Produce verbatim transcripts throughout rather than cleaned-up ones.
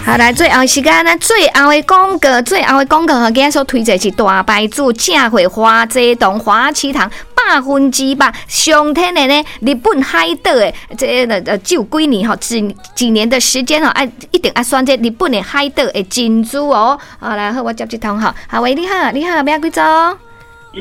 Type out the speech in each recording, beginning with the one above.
好，來最後時間，咱最後的廣告，最後的廣告吼，今仔所推薦是大牌子正貨華濟堂華旗堂百分之百上天然的日本海島的這个呃，只有幾年吼，幾幾年的時間吼，愛一定愛選這日本的海島的珍珠哦。好，來好，我接這通吼。好，喂，你好，你好，欲幾組？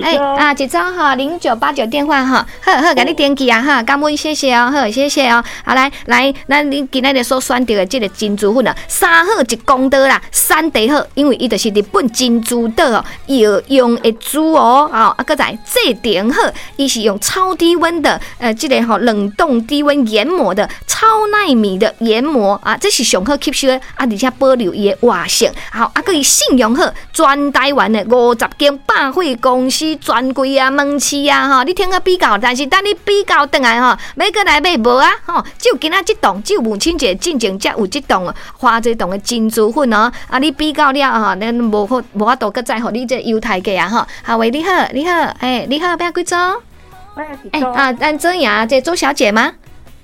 欸啊，一組吼，零九八九電話吼，好好，共你登記啊哈，感恩謝謝哦，好，謝謝哦，好來來，咱你今仔日所選擇的這個珍珠粉啊，三好一公道啦，產地好，因為伊就是日本珍珠島哦，藥用的珠哦，啊，閣再製程好，伊是用超低溫的，呃，這個吼冷凍低溫研磨的超奈米的研磨啊，這是上好吸收的啊，而且保留伊的活性，好，啊，閣伊信用好，全台灣的五十間百貨公司專櫃啊、門市啊，吼，你聽個比較，但是等你比較轉來吼，欲閣來買無啊，吼，只有今仔這檔，只有母親節進前才有這檔華濟堂的珍珠粉哦，啊，你比較了吼，咱無法無法度閣再予你這優待價啊，吼。好喂，你好，你好，欸，你好，欲幾組？欸啊，咱周雅，這周小姐嗎？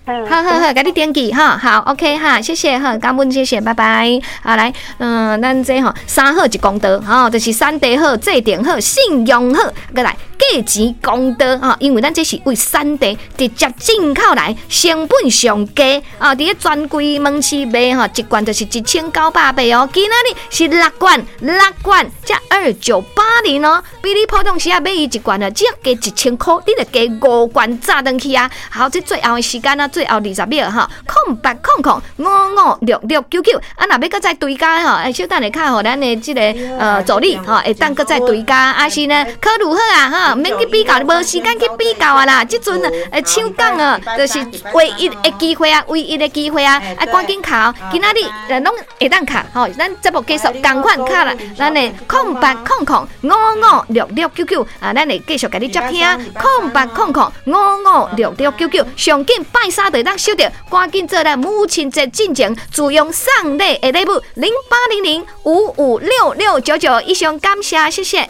好好好，共你登記哈，好，OK 哈，謝謝哈，感恩謝謝，拜拜。好來，嗯，咱這吼三好一公道，吼，就是產地好、製程好、信用好，閣來價錢公道哈，因為咱這是為產地直接進口來，成本上低啊，佇咧專櫃門市賣吼，一罐就是一千九百八哦，今仔日是六罐，六罐才二九八零哦，比你普通時仔買伊一罐啊，只要加一千箍，你就加五罐炸轉去啊。好，這最後的時間啊。最後二十秒吼，空八空空五五六六九九，啊，若欲閣再追加吼，欸，小等下敲予咱的這個呃助理吼，會當閣再追加，啊是呢，考慮好啊吼，免去比較，無時間去比較啊啦，這陣呃搶講啊，就是唯一的機會啊，唯一的機會啊，啊，趕緊敲，今仔日攏會當敲吼，咱節目繼續仝款敲啦，咱的空八空空五五六六九九啊，咱會繼續共你接聽，空八空空五五六六九九，上緊拜三就當收著，趕緊做咱母親節進前自用送禮的禮物，零八零零五五六六九九，以上感謝，謝謝。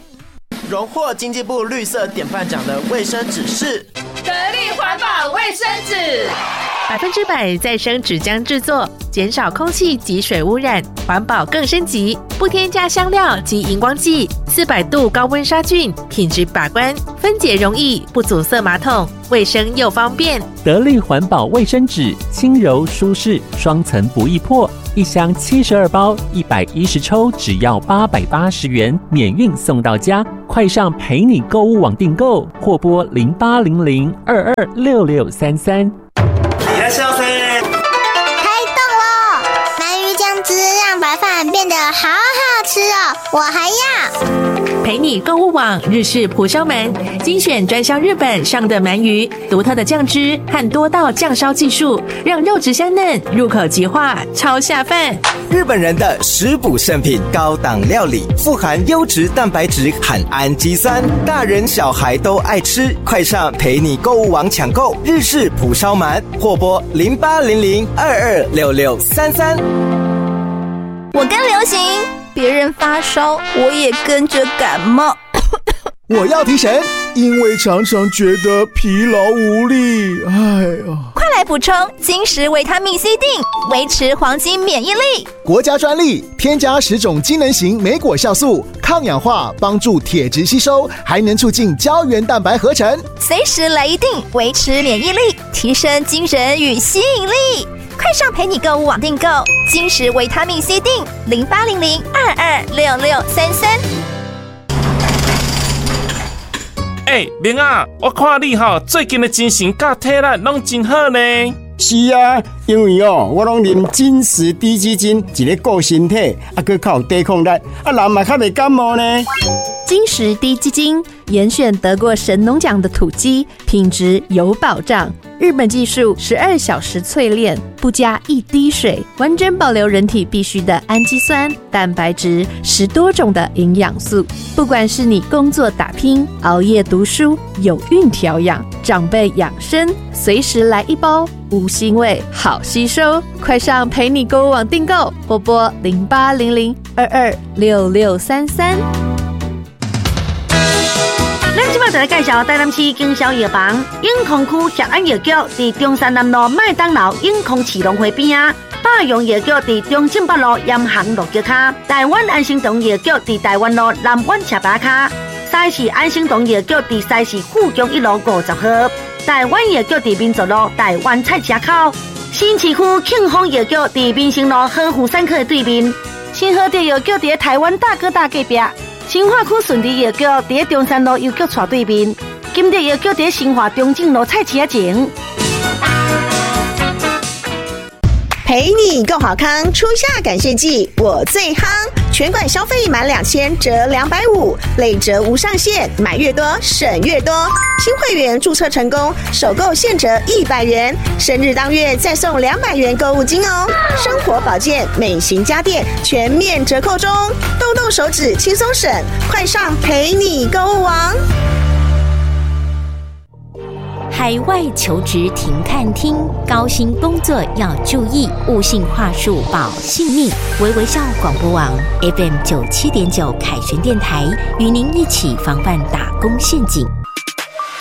榮獲經濟部綠色典範獎的衛生紙是得力環保衛生紙，百分之百再生紙漿製作，減少空氣及水污染，環保更升級，不添加香料及熒光劑，四百度高溫殺菌，品質把關，分解容易，不阻塞馬桶，衛生又方便。得力環保衛生紙，輕柔舒適，雙層不易破，一箱七十二包，一百一十抽，只要八百八十元，免運送到家。快上陪你購物網訂購，或撥零八零零二二六六三三。開動囉！鰻魚醬汁讓白飯變得好好吃哦，我還要。陪你購物網日式蒲燒鰻，精選專銷日本上等鰻魚，獨特的醬汁和多道醬燒技術，讓肉質鮮嫩，入口即化，超下飯。日本人的食補聖品，高檔料理，富含優質蛋白質和氨基酸，大人小孩都愛吃。快上陪你購物網搶購日式蒲燒鰻，或撥零八零零二二六六三三。我跟流行，別人發燒，我也跟着感冒。我要提神，因為常常覺得疲勞無力。哎呀，快來補充金石維他命 C 錠，維持黃金免疫力。國家專利，添加十種機能型莓果酵素，抗氧化，幫助鐵質吸收，還能促進膠原蛋白合成。隨時來一錠，維持免疫力，提升精神與吸引力。快上陪你購物網訂購金石維他命 C 錠，零八零零二二六六三三。欸，明仔，我看你吼最近的精神佮體力攏真好呢。是啊，因為哦，我攏啉金石滴雞精，一个顧身體，啊，閣較有抵抗力，啊，人嘛較袂感冒呢。金石滴雞精，嚴選得過神農獎的土雞，品質有保障。日本技術十二小時淬煉，不加一滴水，完整保留人體必需的氨基酸、蛋白質，十多種的營養素。不管是你工作打拼、熬夜讀書、有孕調養、長輩養生，隨時來一包，無腥味，好吸收。快上陪你購物網訂購，或撥零八零零二二六六三三。咱這擺就來介紹台南市經銷藥房永康區協安藥局，佇中山南路麥當勞永康市農會邊仔。百荣药局伫中正北路盐行路桥跤，台湾安生堂药局伫台湾路南苑车牌跤，西市安生堂药局伫西市富强一路五十号，台湾药局伫民族路台湾菜市口，新市区庆丰药局伫民生路和富产科的对面，新和德药局伫台湾大哥大隔壁，新化区顺利药局伫中山路邮局斜对面，金德药局伫新化中正路菜市仔前。陪你共好康，初夏感谢季，我最夯！全馆消费满两千折两百五，累折无上限，买越多省越多。新会员注册成功，首购现折一百元，生日当月再送两百元购物金哦。生活保健、美型家电全面折扣中，动动手指轻松省，快上陪你购物网！海外求职停看听，高薪工作要注意，勿信话术保性命。微微笑广播网 F M 九七点九凯旋电台，与您一起防范打工陷阱。